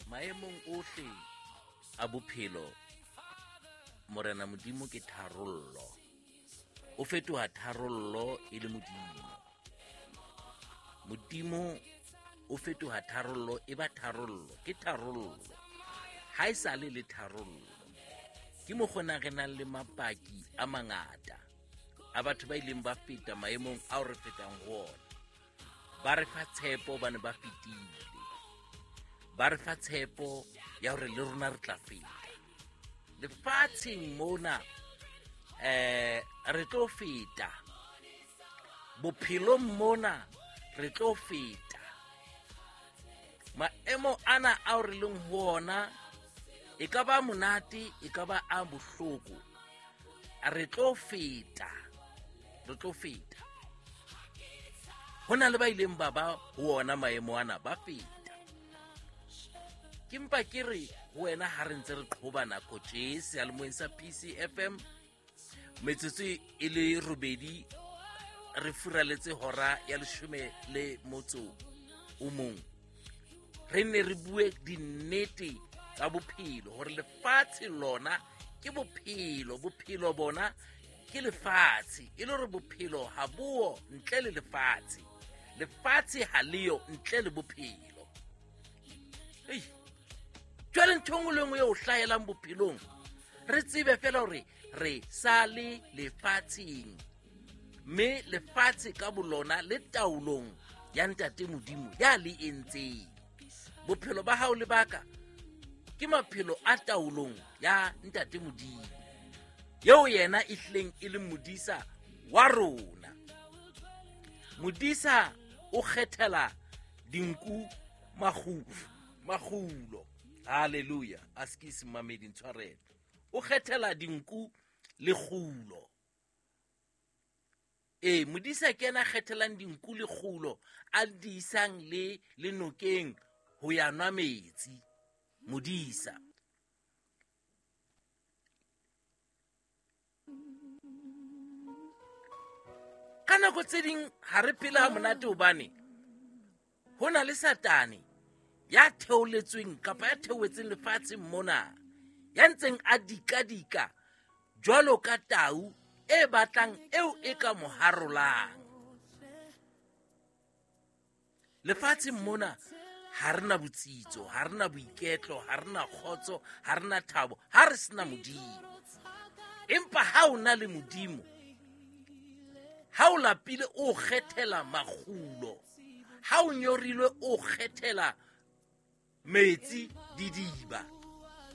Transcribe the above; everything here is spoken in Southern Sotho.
Maemong ohle a bophelo, Morena Modimo ke tharollo. O fetoha tharollo e le Modimo. Modimo o fetoha tharollo, e ba tharollo, ke tharollo. Ha e sale le tharollo. Ke mokgona re nang le mapaki a mangata a batho ba ileng ba feta maemong ao re fetang ho ona. Ba re fa tshepo ba ne ba fetile. Ba re fa tshepo ya hore le rona re tla feta. Lefatsheng mona re tlo feta. Bophelong mona re tlo feta. Maemo ana ao re leng ho ona e ka ba monate, e ka ba a bohloko. Re tlo feta. Re tlo feta. Ho na le ba ileng ba ba ho ona maemo ana, ba feta. Ke mpa ke re ho wena ha re ntse re qhoba nako tje seyalemoyeng sa PCFM, metsotso e le robedi re furaletse hora ya leshome le motso o mong. Re ne re bue dinnete tsa bophelo, hore lefatshe lona ke bophelo, bophelo bona ke lefatshe, e le hore bophelo ha bo ntle le lefatshe, lefatshe ha leyo ntle le bophelo. Ei, jwale ntho e nngwe le nngwe e o hlahelang bophelong, re tsebe fela hore re sa le lefatsheng, mme lefatshe ka bolona le taolong ya Ntate Modimo ya le entseng. Bophelo ba hao le baka ke maphelo a taolong ya Ntate Modimo, eo yena e hlileng e le modisa wa rona. Modisa o kgethela dinku makgulo. Hallelujah. Askies mamedi ntshwarelo. O kgethela dinku lekgulo. Ee, modisa ke yena a kgethelang dinku lekgulo, a di isang le lenokeng ho ya nwa metsi. Modisa. Ka nako tse ding ha re phele ha monate hobane ho na le Satane ya theoletsweng kapa ya theoetseng lefatsheng mona, ya ntseng a dikadika jwalo ka tau e batlang eo e ka mo harolang. Lefatsheng mona ha re na botsitso, ha re na boiketlo, ha re na kgotso, ha re na thabo, ha re sena Modimo. Empa ha o na le Modimo, ha o lapile o kgethela makgulo, ha o nyorilwe o kgethela metsi didiba.